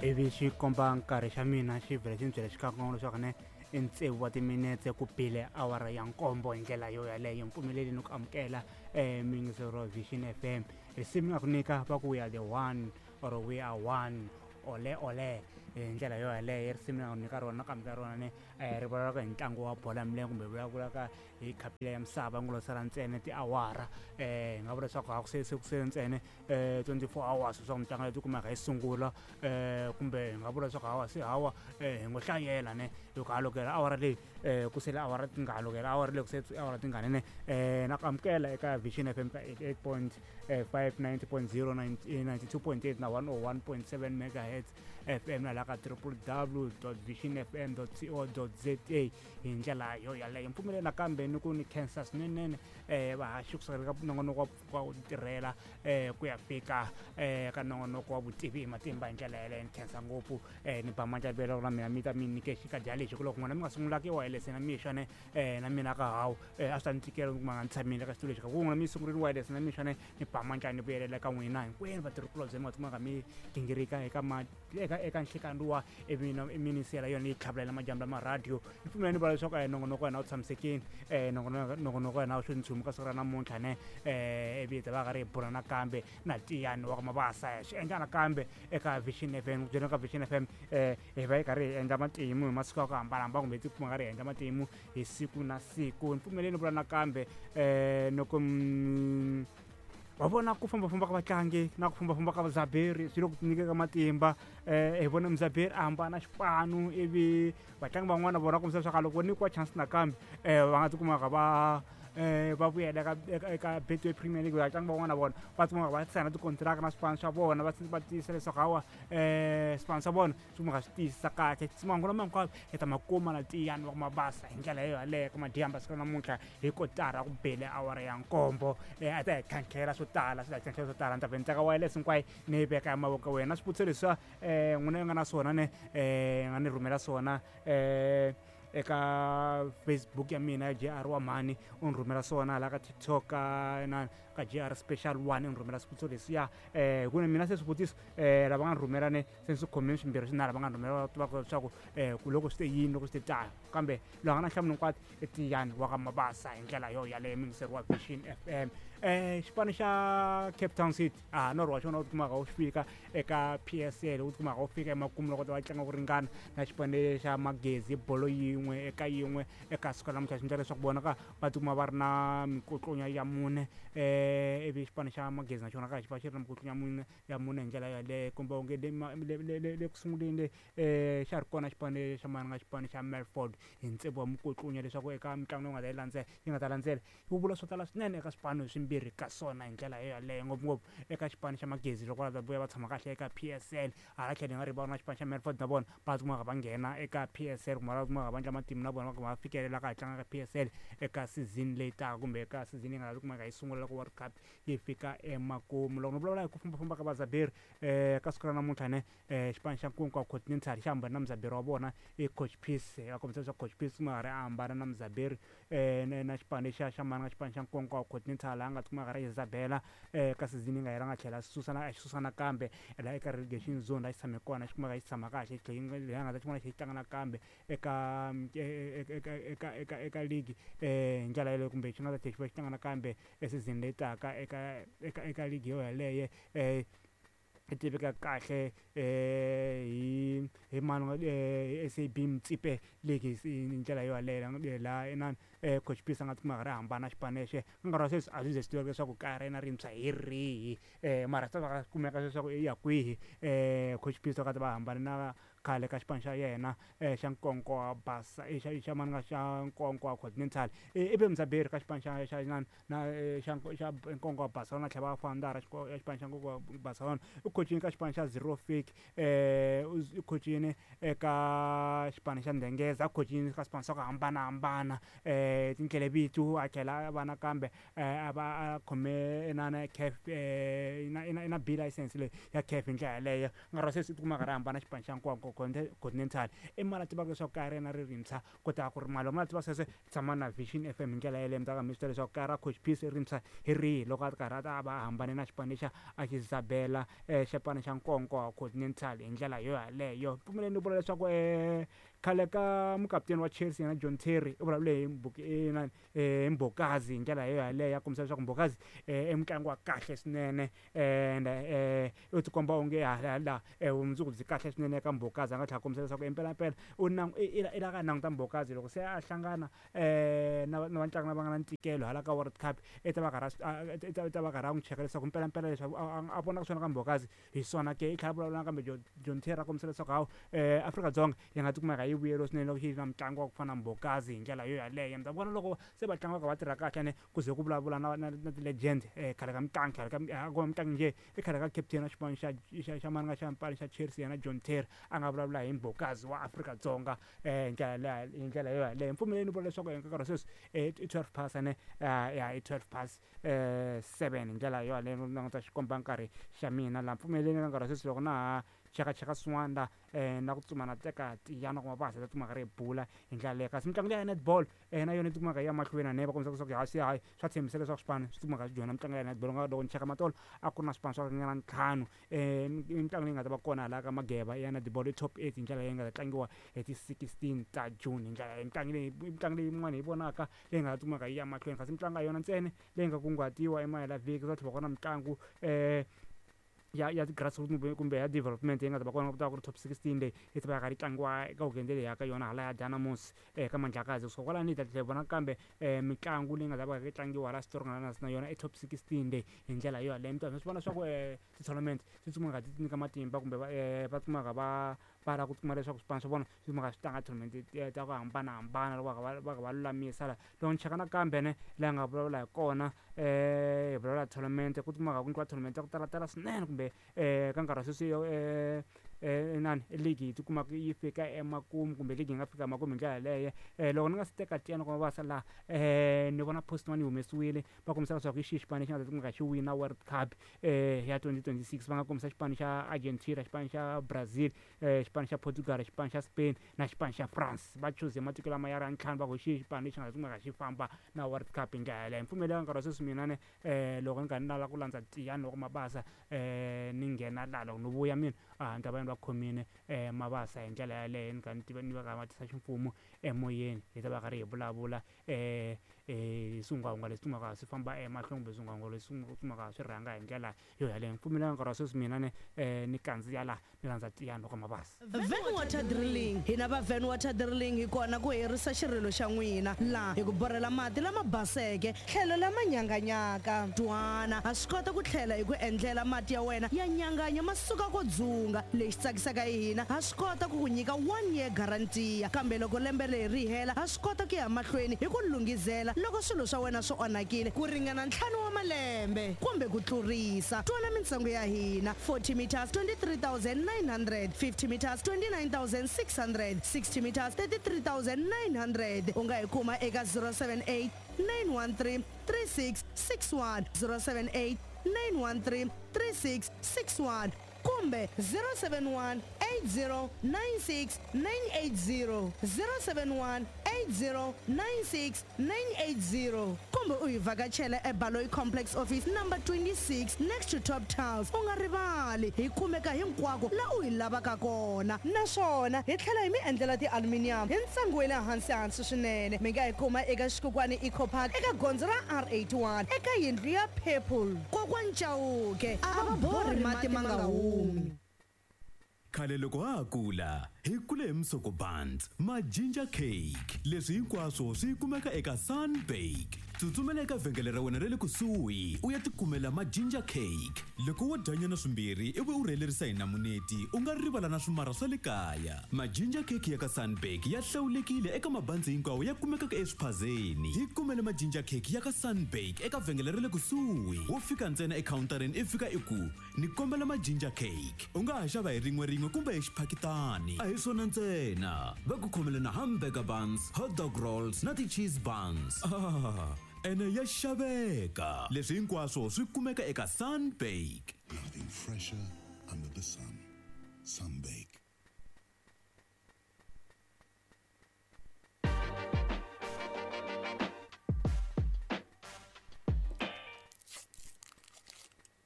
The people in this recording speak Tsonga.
Ivi xi komba nkarhi xa mina xi vhela xi ni byela xikan'we leswaku ne i tsevu wa timinetse ku bile awara ya nkombo. Hi ndlela yo yaleyo, mpfumeleli ni ku amukela muyingiseri wa Vision FM. Risimu nga ku nyika va ku "We are the one" or "We are one", ole ole. Hi ndlela yo yaleyo, risimu ni nga ku nyika rona na ku amukela rona ne ri vulavulaka hi ntlangu wa bolo ya milenge, kumbe vulavulaka hi khapu ya misava ngo lo sala ntsena tiawara. Hi nga vula leswaku a ku se se ku sele ntsena 24 hours leswaku mitlangu leyi tikumaka yi sungula, kumbe hi nga vula leswaku hawa se hawa hi ngo hlayela ne loko ha lokela awara leyi ku sele awara tingani, lokela awara leyi ku sele awara tingani ne. Na ku amukela eka Vision FM ka 88.5, 90.0, 92.8 na 101.7 megahertz FM, na laha ka www.visionfm.co.za. Hi ndlela yo yaleyo, mpfumeleli nakambe ni ku ni khensa swinene vahaxi kusukela ka nongonoko wa ku tirhela ku ya fika ka nongonoko wa vutivi hi matimba. Hi ndlela yaleyo, ni khensa ngopfu, ni ba mandla vela na mina mi ta mi nyike xikadya lexi ku loko n'wina mi nga sungulaki wireless na mixo ne na mina ka hawu a swi ta ni tikela ku nga ni tshamile ka xitulu lexi ka ku n'wina mi sungurile wireless na mixo ne. Ni ba mandla ni vuyelela ka n'wina hinkwenu vatirhikulobye mi nga kumaka mi gingirika eka ma eka nhlikani luwa, ivi mi ni siyela yona yi tlhavulela madyambu lama radio. Ni pfumela ni vula leswaku nongonoko wa hina wu tshamisekile, nongonoko wa hina wu xo nchumu ka siku ra namuntlha ne, ivi hi ta va karhi hi bula nakambe na Tiyani wa ka Mabasa swi endla nakambe eka Vision FM. Ku byela ka Vision FM, hi va hi karhi hi endla matimu hi masiku ya ku hambanahambana, kumbe hi tikuma karhi hi endla matimu hi siku na siku. Ni pfumeleni vula nakambe loko wa vona ku fambafamba ka vatlangi na ku fambafamba ka vazaberi swi le ku nyikeka matimba. Hi vona muzaberi a hambana xipanu, ivi vatlangi van'wana vona kombisa leswaku loko nyikiwa chance nakambe va nga tikumaka va vuyela eka Betway Premier League. Vatlangi van'wana vona va tikuma va sayina tikontiraka na swipano swa vona, va tiyisa leswaku hawa swipano swa vona swi kumeka swi tiyisisa kahle. Mahungu lama hinkwayo hi ta ma kuma na Tiyani wa Mabasa hi ndlela yo yaleyo ka madyambu siku namuntlha hi kotara ku bele awara ya nkombo. A ta hi tlhantlhela swo tala, swi ta hi tlhantlhela swo tala. Ni ta vhe ni teka wireless hinkwayo ni yi veka ya mavoko ya wena. Swivutiso leswiya n'wina yi nga na swona ne nga ni rhumela swona eka Facebook ya mina ya JR wa Mhani, u ni rhumela swona hala ka TikTok ka na ka JR Special One, u ni rhumela swivutiso leswiya ku mina se swivutiso lava nga ni rhumela ne se swi khomile swimbirhi swinharhu va nga ni rhumela, va tiva leswaku ku loko swi te yini, loko swi te tano. Kambe loyi a nga na nhlamulo hinkwato i Tiyani wa ka Mabasa. Hi ndlela yo yaleyo, muyingiseri wa Vision FM, xipano xa Cape Town City a norho wa xona wu tikumaka wu fika eka PSL, wu tikumaka wu fika emakumu loko va tlanga ku ringana na xipano xa Magezi bolo 1-1 eka siku ra namuntlha. Swi endla leswaku vona ka va tikuma va ri na mikotlonya ya mune, ivi xipano xa Magezi na xona ka xi va xi ri na mikotlonya ya mune. Hi ndlela yaleyo, kumbe onge le ku sunguleni le xa ri kona xipano xa mananga, xipano xa Melford, hi tsevu wa mikotlunya, leswaku eka mitlangu leyi nga ta yi landzela yi nga ta landzela yi vula swo tala swinene eka swipano swimbirhi ka swona. Hi ndlela yo yaleyo, ngopfungopfu eka xipano xa Magezi, loko va ta vuya va tshama kahle eka PSL. Hala tlhelo hi nga rivali na xipano xa Melford, na vona va kumaka va nghena eka PSL, kumbe va kumaka va endla matimu na vona va fikelela ka hi tlanga ka PSL eka season leyi taka, kumbe eka season yi nga ta kumeka yi sungula loko World Cup yi fika emakumu. Loko ni vulavula hi ku fambafamba ka vazaberi ka siku ra namuntlha ne, xipano xa Nkowankowa Continental xi hambana na muzaberi wa vona i Coach Peace. Va kombisa leswaku Coach Peace ma ha ri a hambana na muzaberi na xipano lexiya xa mananga, xipano xa Nkowankowa Continental, laha a nga tikuma ri Isabella ka season yi nga hela, nga tlhela susa na a xi susa nakambe laha eka relegation zone laha xi tshame kona, xi kumeka xi tshama kahle, xi tlhela leyi a nga ta xi vona xi tlanga nakambe eka league hi ndlela yaleyo, kumbe xi nga ta tlhela xi va xi tlanga nakambe e season leyi taka eka league yo yaleyo. I tiveka kahle hi mani, hi SAB Motsepe League. Hi ndlela yo yaleyo laha inani Coach Peace a nga tikuma a ri hambana xipano lexi. Ka nkarhi wa sweswi a swi ze swi tiveka leswaku kaya ra yena rintshwa hi rihi, mara swi ta va kumeka leswaku i ya kwihi. Coach Peace va ka va hambana na khale ka xipano xa yena xa Nkowankowa Basa, xa mani, nga xa Nkowankowa Continental, i ve muzaberi ka xipano xa inani na xa Nkowankowa Barcelona, tlhela va founder ya xipano xa Nkowankowa Barcelona. U khocini ka xipano xa Zero Fake, u khocini eka xipano xa Ndengeza, a khocini ka swipano swa ku hambanahambana, tindlela vito, a tlhela a va nakambe a va a khome inana CAF, i na B license leyi ya CAF. Hi ndlela yaleyo, nkarhi wa sweswi u tikuma a karhi a hambana xipano xa Nkowankowa. Nkonko Continental i mali a tivaka leswaku kaya ra yena ri rintshwa ku ta ku ri mali ma tiva sweswe tshama na Vision FM hi ndlela yeleyo mi ta ka mi swi tiva leswaku kaya ra Coach Peace rintshwa hi rihi loko a ri karhi a ta va a hambane na xipano lexa a xi Isabella xipano xa Nkonko Continental hi ndlela yo yaleyo. Pfumeleni ni vula leswaku khale ka mukaputeni wa Chelsea yena John Terry u vulavule hi inani hi Mbokazi hi ndlela yo yaleyo ya kombisa leswaku Mbokazi i mutlangi wa kahle swinene and u tikomba onge hala vumundzuku byi kahle swinene eka Mbokazi a nga tlhela a kombisa leswaku impelampela u i la ka languta Mbokazi loko se a hlangana na na vatlangi lava nga na ntikelo hala ka World Cup i ta va karhi a i ta va karhi a n'wi cheka leswaku mpelampela leswi a vonaka swona ka Mbokazi hi swona ke i tlhela a vulavula nakambe John Terry a kombisa leswaku hawu Afrika-Dzonga yi nga tikuma yi vuyeriwa swinene loko yi ri na mutlangi wa ku fana na Mbokazi hi ndlela yo yaleyo mi ta vona loko se vatlangi va kha va tirha kahle ne ku ze ku vulavula na na na ti-legend khale ka mutlangi khale ka a ko va mutlangi njhe i khale ka captain wa xipano xa xa xa mani xa xipano xa Chelsea yena John Terry a nga vulavula hi Mbokazi wa Afrika-Dzonga hi ndlela leya hi ndlela yo yaleyo mpfumeleni vula leswaku eka nkarhi wa sweswi i 12 past ne ya i 12 past 7 hi ndlela yo yaleyo languta xikomba nkarhi xa mina laha mpfumeleni ka nkarhi wa sweswi loko na ha chekacheka swin'wana la na ku tsutsuma na teka tiyana kuma va hatlisa tikuma karhi hi bula hi ndlela leyo kasi mitlangu leya ya netball na yona yi tikumaka yi ya mahlweni ene va kombisa leswaku ha se hayi swa tshembisa leswaku swipano swi tikumaka swi joyina mitlangu ya netball nga loko ni cheka matolo a ku ri na swipano swa ringana ntlhanu mitlangu leyi nga ta va kona hala ka Mageba ya netball i top 8 hi ndlela leyi nga ta tlangiwa hi ti 16 ta June hi ndlela mitlangu leyi mitlangu leyi yin'wana hi vonaka leyi nga ta tikumaka yi ya mahlweni kasi mitlangu a yona ntsena leyi nga kunguhatiwa emahela vhiki ku ta tlhela ku va na mitlangu ya ti-grassroot kumbe ya development yi nga ta va kona ku ta va ku ri top 16 leyi yi ta va yi karhi yi tlangiwa eka weekend leyi ya ka yona hala ya Dynamos ka Mandlakazi kusuka kwalano hi ta tlhela hi vona kambe mitlangu leyi nga ta va yi tlangiwa hala Strong na yona i top 16 leyi hi ndlela yo yaleyo mi ta swi vona swa ku ti-tournament ti tsutsumaka ti nyika matimba kumbe va tsutsumaka va va lava ku kuma leswaku swipano swa vona swi maka swi tlanga tournament ta ku hambanahambana loko va kha va kha va lulamisa la loko ni cheka nakambe ne laha hi nga vulavula hi kona hi vulavula tournament ku kumaka ku nyikiwa tournament ta ku talatala swinene kumbe ka nkarhi wa sweswi inani league yi tikumaka yi fika emakumu kumbe league yi nga fika emakumu hi ndlela yaleyo loko ni nga si teka tiya ni kuma va sa laha ni vona post yin'wana yi humesiwile va kombisa leswaku hi xihi xipano lexi nga ta kumeka xi wina World Cup ya 2026 va nga kombisa xipano xa Argentina xipano xa Brazil xipano xa Portugal xipano xa Spain na xipano xa France va chuze matiko lama ya ri ya ntlhanu va ku hi xihi xipano lexi nga ta kumeka xi famba na World Cup hi ndlela yaleyo mpfumelelo nkarhi wa sweswi mina ne loko ni karhi ni lava ku landza tiyani loko mabasa ni nghena laha loko ni vuya mina a ni ta va ni va khomile mabasa hi ndlela yaleyo ni kha ni tiva ni va ka va tisa ximfumo emoyeni hi ta va karhi hi vulavula swingwavungwa leswi kumaka swi famba emahlweni kumbe swingwavungwa leswi kumaka swi rhanga hi ndlela yo yaleyo mpfumelelo nkarhi wa sweswi mina ni ni kandziya laha ni landza tiyani loko mabasa Van Water Drilling. Hina va Van Water Drilling hi kona ku herisa xirilo xa n'wina laha hi ku borhela mati lama baseke tlhelo lama nyanganyaka. Twana, ha swi kota ku tlhela hi ku endlela mati ya wena ya nyanganya ma suka ko dzunga. Lexi tsakisaka hi hina, ha swi kota ku ku nyika one year guarantee kambe loko lembe leri ri hela ha swi kota ku ya mahlweni hi ku lunghizela loko swilo swa wena swi onhakile ku ringana ntlhanu wa malembe kumbe ku tlurisa. Twana mintsengo ya hina, 40 meters 23,900, 50 meters 29,600, 60 meters 33,900. U nga hi kuma eka 078 913 3661, 078 913 3661 kumbe 071 8096 980, 071 8096 980 kumbe u hi vhakachela eBaloyi Complex Office number 26 next to Top Tiles. U nga rivali hi kumeka hinkwako la u hi lavaka kona naswona hi tlhela hi mi endlela ti-aluminium hi ntsengo wa le hansi hansi swinene. Mi nga hi kuma eka Xikukwani Eco Park eka gondzo ra R81 eka yindlu ya Purple. Kokwani Chauke a va borhi mati ma nga humi. Khale loko ha ha kula hi kule hi musoko buns ma ginger cake leswi hinkwaswo swi kumeka eka Sunbake tsutsumela eka vhengele ra wena ra le kusuhi u ya tikumela ma ginger cake loko wo dyanyana swimbirhi ivi u rhelerisa hi namuneti u nga rivala na swimarha swa le kaya ma ginger cake ya ka Sunbake ya hlawulekile eka mabanzi hinkwawo ya kumekaka eswiphazeni hi kumele ma ginger cake ya ka Sunbake eka vhengele ra le kusuhi wo fika ntsena ekhawuntareni i fika i ku ni kombela ma ginger cake u nga ha xava hi rin'we rin'we kumbe hi xiphakitani a hi swona ntsena va ku khomele na hamburger buns hot dog rolls na ti-cheese buns ah, ene ya xaveka leswi hinkwaswo swi kumeka eka Sunbake. Nothing fresher under the sun. Sunbake.